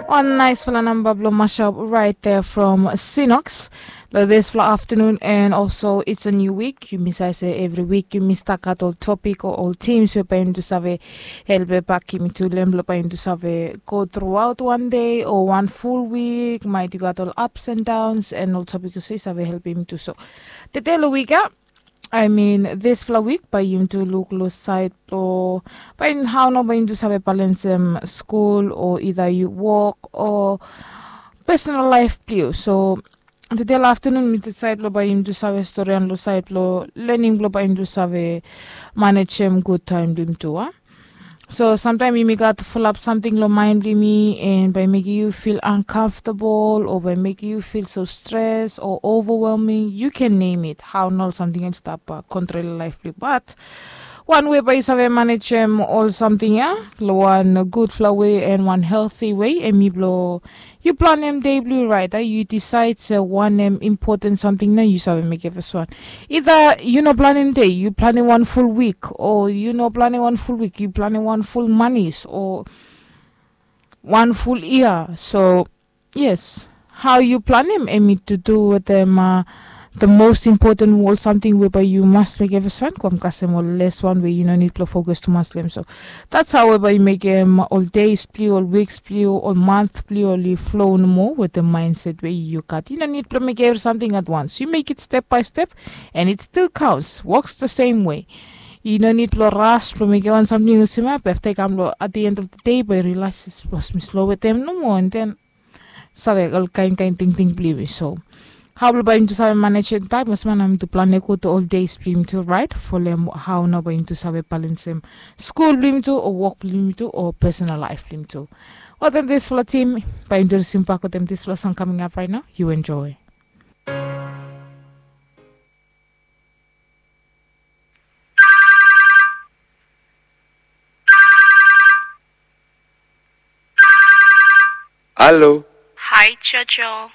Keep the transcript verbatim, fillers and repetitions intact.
Wan naisfala namba blong mashup right there from Sinox. Lo disfala aftanun and also it's a new week. Yumi save se evri wik yumi stap gat ol topik o ol tims we bae yumi tu save helpem bak yumi tu, lem blong bae yumi tu save go truaot wan dei o wan ful wik. Maet i gat ol ups and downs and ol topik olsem i save helpem yumi tu. So tede lo wik ya, I mean disfala wik, bae yumi tu luk lo saed blong bae hao nao bae yumi tu save balensem skul o ida yu wok o personal laef blong yu. So tede lo aftanun mi disaed blong bae yumi tu save storian lo saed blong lening blong bae yumi tu save manejem gud taem blong yumi tu a. So samtaem yumi gat fulap samting lo maen blong yumi and bae mekem yu fil ankaftabol o bae mekem yu fil so stres o ovawelming, yu ken nem it, hao nao ol samting ya i stap kontrolem laef blong yu. Bat wan wei bae yu save manejem ol samting ya lo wan gudfala wei and wan helti wei, hemi blong yu planem dei blong yu raet. Yu disaed se wanem impoten samting nao yu save mekem faswan. Ida yu no planem dei, yu planem wan ful wik, o yu no planem wan ful wik, yu planem wan ful manis o wan ful yia. So yes, hao yu planem hemi tu du wetem the most important ol samting we bae yu mas mekem faswan, kam kasem ol les wan we yu no nid blong fokas tumas long hem. So that's how we bae yu mekem ol deis blong yu, ol wiks blong yu, ol mant blong yu oli flo nomo wetem maenset we yu gat. Yu no nid blong mekem evri samting at once. Yu mek it step by step and it still counts, works the same way. Yu no nid blong ras blong mekem wan samting olsem ya be afta i kam long at the end of the day bae yu rilaes, sapos mi slo wetem nomo and then save ol kaen kaen tingting blong yumi. So hao blong bae yumi tu save manejem taem olsem ya nao yumi tu planem gud ol deis blong yumi tu raet, folem hao nao bae yumi tu save balensem skul blong yumi tu o wok blong yumi tu o personal laef blong yumi tu. Wetem disfala tim bae yumi tu risim bak wetem disfala song kaming ap raet nao. Yu enjoe. Halo. Hae Jojo.